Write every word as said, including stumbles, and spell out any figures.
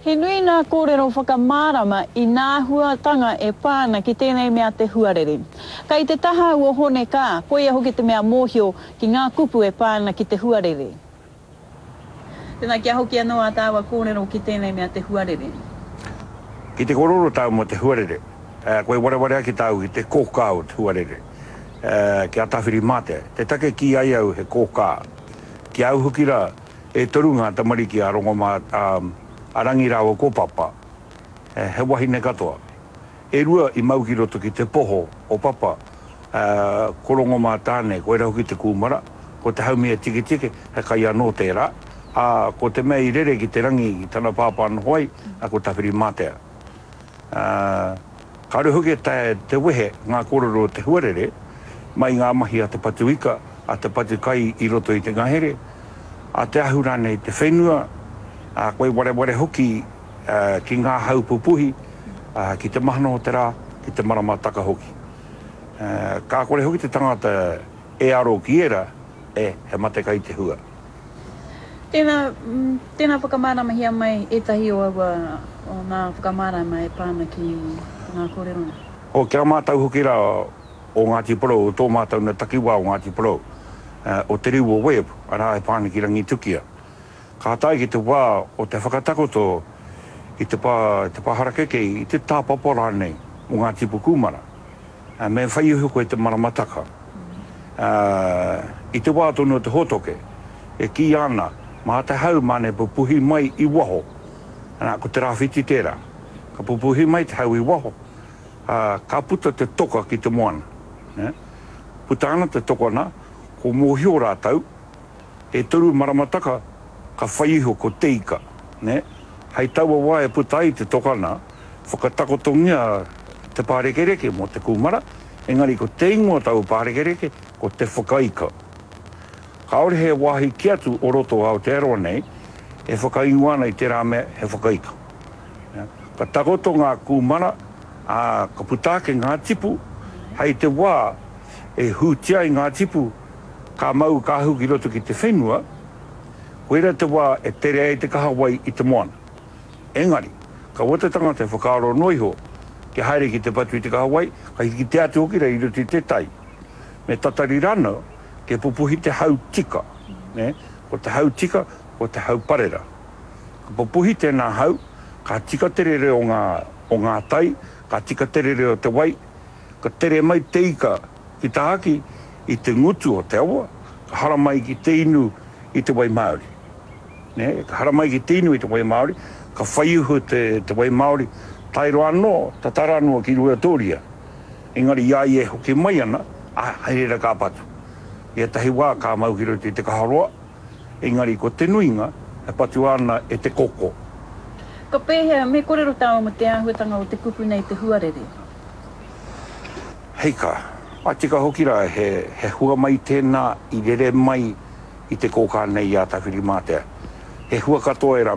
He nui ngā kōrero whakamārama i ngā āhuatanga e pā ana ki tēnei mea te huarere. Kei te taha o Hone Kaa, koia hoki te mea mōhio ki ngā kupu e pā ana ki te huarere. Tēnā, kia hoki anō ā tāua kōrero ki tēnei mea te huarere. Ki te kōrero tāu mō te huarere, koe wareware ake tāu ki te kōkā o te huarere, ki a Tāwhirimātea. Te take kī ai au he kōkā. Ki a au hoki rā, e toru ngā tamariki a Rongomā, a. A Rangi rāua ko Papa, he wahine katoa. E rua i mau ki roto ki te poho o Papa, ko Rongomātāne, koirā hoki te kūmara, ko Te Haumia-tiketike, he kai anō tērā, ā, ko te mea i rere ki te rangi ki tana pāpā noho ai, ko Tawhirimātea. Ā, kāore hoki e taea te wehe ngā kōrero o te huarere mai i ngā mahi a te patu ika, a te patu kai i roto i te ngahere, a te ahu rānei i te whenua, ā, koe wareware hoki ki ngā hau pupuhi, ki te mahana o te rā, ki te maramataka hoki. Ka kore hoki te tangata e aro ki ērā, e, he mate kai te hua. Tēnā, tēnā whakamāramahia mai ētahi o aua, o ngā whakamārama e pā ana ki ngā kōrero nei. O, ki a mātou hoki rā o Ngāti Porou, o tō mātou na takiwā o Ngāti Porou, o Te Riu o Webb, arā e pā ana ki Rangitukia. Ka tae ki te wā o te whakatakoto i te pā, te pā harakeke, i te tāpapa rānei o ngā tipu kūmara, me whai iho koe te maramataka. I te wā tonu o te hōtoke, e kīia ana, mā te hau māna e pupuhi mai i waho, ana, ko te rāwhiti tērā. Ka pupuhi mai te hau i waho, ā, ka puta te toka ki te moana. Puta ana te toka nā, ko mōhio rātou, e toru maramataka ka whai iho ko te ika, nē. Hei taua wā e puta ai te toka nā, whakatakotongia te pārekereke mō te kūmara, engari ko te ingoa o taua pārekereke ko te whakaika. Kāore he wāhi kē atu o roto o Aotearoa nei e whakaingoa ana i tērā mea he whakaika. Ka takoto ngā kūmara, ā, ka puta ake ngā tipu, hei te wā e hūtia ai ngā tipu, ka mau ka ahu ki roto ki te whenua, koirā te wā e tere ai te kahawai i te moana. Engari, kaua te tangata e whakaaro noa iho kia haere ki te patu i te kahawai, ka kitea atu hoki rā i roto i te tai. Me tatari rānō kia pupuhi te hau tika, nē, ko te hau tika, ko te hau parera. Ka pupuhi tēnā hau, ka tika te rere o ngā, o ngā tai, ka tika te rere o te wai, ka tere mai te ika ki tahaki i te ngutu o te awa, ka haramai ki te inu i te wai māori. Nē, ka haramai ki te inu i te wai māori, ka whai iho te, te wai māori, tae roa anō, tata rā noa ki Ruatōria. Engari i a ia e hoki mai ana, ā, hei reira ka patu. I ētahi wā ka mau ki roto i te kaharoa, engari ko te nuinga e patua ana e te koko. Ka pēhea, me kōrero tāua mō te āhuatanga o te kupu nei te huarere? Hei ka, a tika hoki rā he, he hua mai tēnā i rere mai i te kōkā nei i a Tawhirimātea. He hua katoa ērā